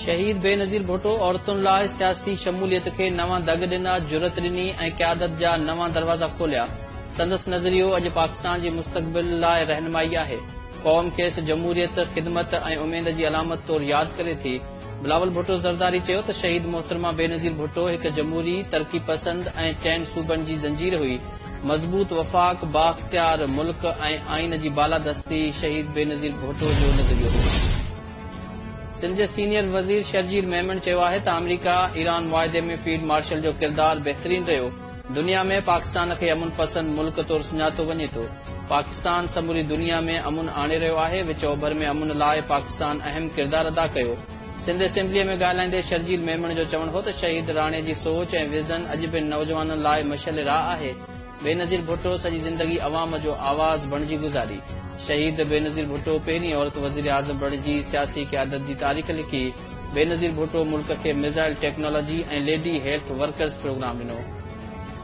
شهيد بينظير ڀٽو عورتن لاء سياسي شموليت کي نوان دڳ ڏنا، جرئت ڏني ۽ قيادت جا نوان دروازا کوليا. سندس نظريو اڄ پاڪستان جي مستقبل لاء رهنمائي آهي. قوم کيس جمهوريت، خدمت ۽ اميد جي علامت طور ياد ڪري ٿي. بلاول ڀٽو زرداري چيو ته شهيد محترمه بينظير ڀٽو هڪ جمهوري، ترقي پسند ۽ چئن صوبن جي زنجير هئي. مضبوط وفاق، بااختيار ملڪ ۽ آئين جي بالادستي شهيد بينظير ڀٽو جو نظريو هو. سنڌ جي سينيئر وزير شرجيل ميمڻ چيو آهي ته آمريڪا ايران معاهدي ۾ فيلڊ مارشل جو ڪردار بهترين رهيو، دنيا ۾ پاڪستان کي امن پسند ملڪ طور سڃاتو وڃي ٿو، پاڪستان سموري دنيا ۾ امن آڻي رهيو آهي، وچ اوڀر ۾ امن لاء پاڪستان اهم ڪردار ادا ڪيو. سنڌ اسيمبليء ۾ ڳالهائيندي شرجيل ميمڻ جو چوڻ هو ته شهيد راڻي جي سوچ ۽ ويزن اڄ به نوجوانن لاء مشعل راهه آهي، بينظير ڀٽو سڄي زندگي عوام جو آواز بڻجي گذاري. شهيد بينظير ڀٽو پهرين عورت وزيراعظم بڻجي سياسي قيادت جي تاريخ لکي. بينظير ڀٽو ملڪ کي missile technology ۽ lady health workers programme ڏنو.